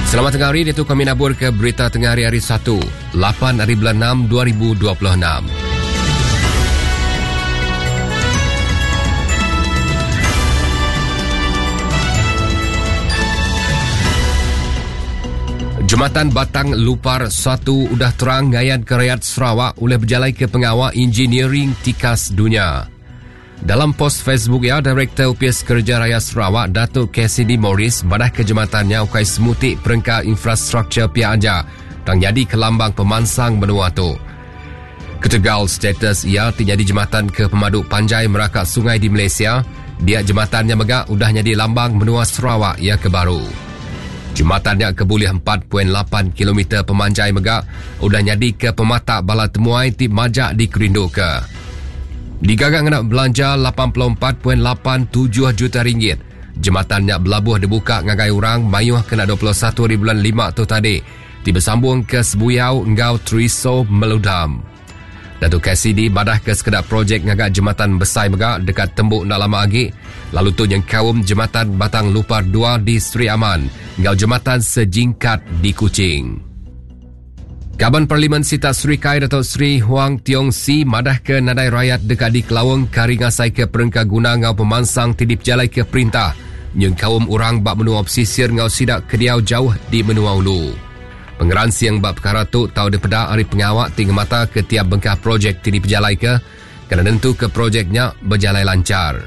Selamat tengah hari, diatu kami nabur ke berita tengah hari hari 1, 8 hari bulan 6, 2026. Jematan Batang Lupar 1 udah terang ngayan ke rayat Sarawak ulih bejalai ke pengawa engineering tikas dunya. Dalam post Facebook iya, Direktor Opis Kereja Raya Sarawak Datuk Cassidy Morris madah ke jematan nya ukai semuti perengka infrastruktur pia aja tang nyadi ke lambang pemansang menua tu. Ketegal status iya ti nyadi jematan ke pemadu panjai meraka sungai di Malaysia, dia jematan nya mega udah nyadi lambang menua Sarawak iya ke baru. Jematan nya ke bulih 4.8 kilometer pemanjai mega udah nyadi ke pematak bala temuai ti majak dikerinduka. Digaga ngena belanja 84.87 juta ringgit, jematan nya belabuh dibuka ngagai orang mayuh kena 21 hari bulan lima tu tadi ti besambung ke Sebuyau enggau Triso Meludam. Datuk Cassidy madah ke sekeda projek ngaga jematan besai mega deka tembu enda lama agi lalu tu nyengkaum Jematan Batang Lupar 2 di Sri Aman enggau Jematan Sejingkat di Kuching. Kaban Parlimen Sitak Serikai Datuk Seri Huang Tiong Sii madah ke nadai rayat deka dikelaung ke ari ngasai ke perengka guna enggau pemansang ti dipejalaika perintah nyengkaum orang ba menua pesisir enggau sida ke diau jauh di menua ulu. Pengeransing ba pekara tu tau dipeda ari pengawa ti ngemata ke tiap bengkah projek ti dipejalaika kena nentuka projek nya bejalai lanchar.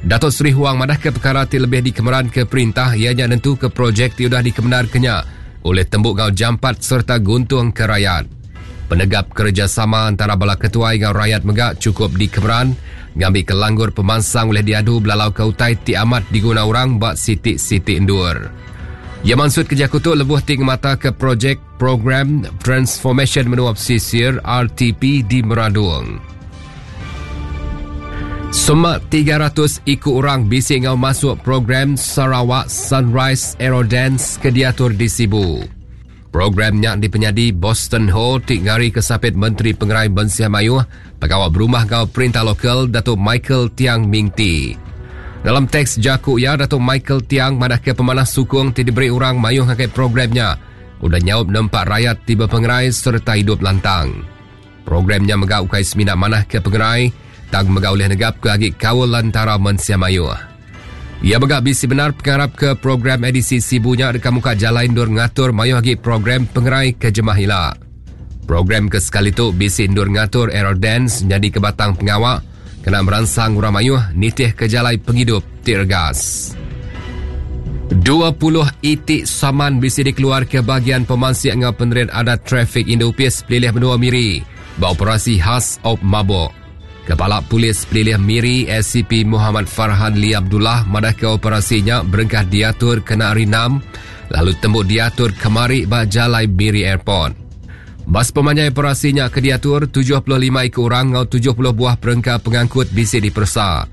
Datuk Seri Huang madahka pekara ti lebih dikemeranka perintah iya nya nentuka projek ti udah dikemendarka nya ulih tembu enggau jampat sereta guntungka rayat. Penegap kerejasama entara bala ketuai enggau rayat mega chukup dikemeran ngambika langgur pemansang ulih diadu belalauka utai ti amat diguna orang ba siti-siti endur. Iya mansutka jaku tu lebuh ti ngemataka projek Program Transformasyen Menua Pesisir, RTP, di Meradong. Semak 300 iku orang bisi enggau masuk program Sarawak Sunrise Aerodance ke diatur di Sibu. Program nya dipenyadi Boston Ho ti ngarika Sapit Menteri Pengerai Mensia Mayuh, Pengawa Berumah enggau Perintah Lokal Datuk Michael Tiang Ming Tee. Dalam teks jaku iya, Datuk Michael Tiang madahka pemanah sukung ti diberi orang mayuh ngagai program nya udah nyaup nempa rayat ti bepengerai sereta idup lantang. Program nya mega ukai semina manahka pengerai tang mega ulih negapka agi kaul antara mensia mayuh. Iya mega bisi bendar pengarap ke program edisi Sibu nya deka muka jalai endur ngatur mayuh agi program pengerai ke jemah ila. Program ke sekali tu bisi endur ngatur aerodance nyadika batang pengawa kena meransang orang mayuh nitihka jalai pengidup ti regas. 20 iti saman bisi dikeluarka Bahagian Pemansik enggau Penerit Adat Trafik Indu Opis Pelilih Menua Miri ba operasi khas Op Mabuk. Kepala Polis Pelilih Miri SCP Muhammad Farhan Lee Abdullah madahka operasi nya berengkah diatur kena hari Enam lalu tembu diatur kemari ba Jalai Miri Airport. Ba sepemanjai operasi nya ke diatur, 75 iku orang enggau 70 buah perengka pengangkut bisi diperesa.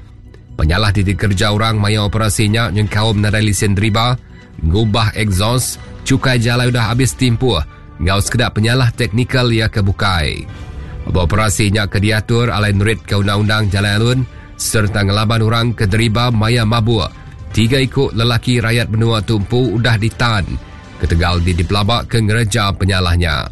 Penyalah ti dikereja orang maya operasi nya nyengkaum nadai lisin deriba, ngubah exhaust, chukai jalai udah abis timpuh enggau sekeda penyalah teknikal iya ke bukai. Ba operasi nya ke diatur alai neritka undang-undang jalai alun sereta ngelaban orang ke deriba maya mabuk, tiga iku lelaki rayat menua tu empu udah ditan ketegal di dipelabaka ngereja penyalah nya.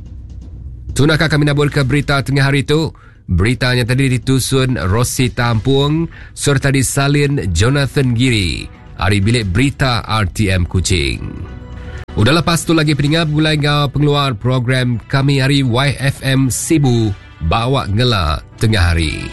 Tu naka kami naburka berita tengah hari tu. Berita nya tadi ditusun Rosita Ampung sereta disalin Jonathan Giri ari Bilik Berita RTM Kuching. Udah lepas tu lagi peninga begulai enggau pengeluar program kami ari YFM Sibu bawa ngela tengah hari.